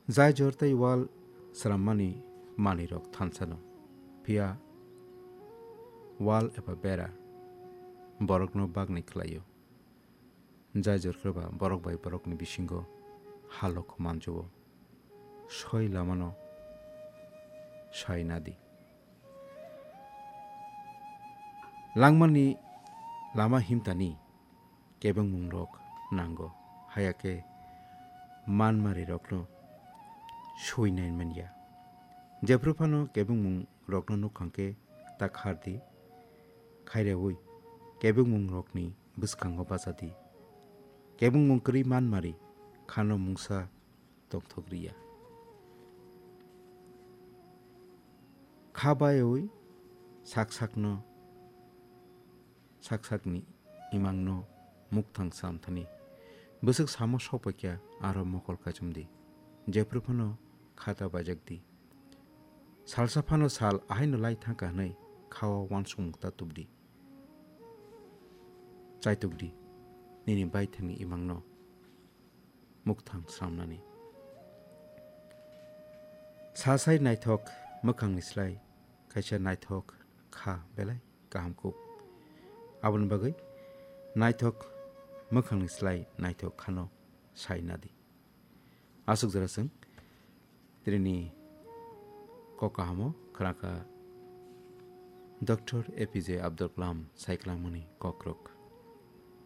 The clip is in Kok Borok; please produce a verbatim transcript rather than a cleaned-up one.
Jai jor tei wal swrammani manwirok thansano, phiya wal eba bera borokno bagni khlaio. Jai jor khe ba borok bai borokni bisingo halok manjuo, soi lamano sai nadi. Langmani lama himtani kebengmungrok nango, haya khe manmarirokno suinai manya. Jephru phano kebengmungrokno nukhang khe ta khardi, khaireui kebengmungrokni bwskango bachadi. Kebengmung kwrwi manmari khano mungsa tongthok riya. Kha baiwi sak sakno, sak sakni imangno mukthang samthani. Bwswk samo sokpaikya aro mokol kachumdi. Jephru phano khata bajakdi. Salsa phano sal ahaino lai thangkha hwnwi kha-o uansukmung ta tubdi. Chaitukdi, nini baithangni imangno mukthang sramnani. Sasai naithok mwkhangni slai kaisa naithok kha belai kaham kuk. Aboni bagwi naithok mwkhangni slai naithok khano sai nadi. Aswk jora chwng tini kok kahamo khwnakha Doctor A P J Abdul Kalam saiklangmani kokrok.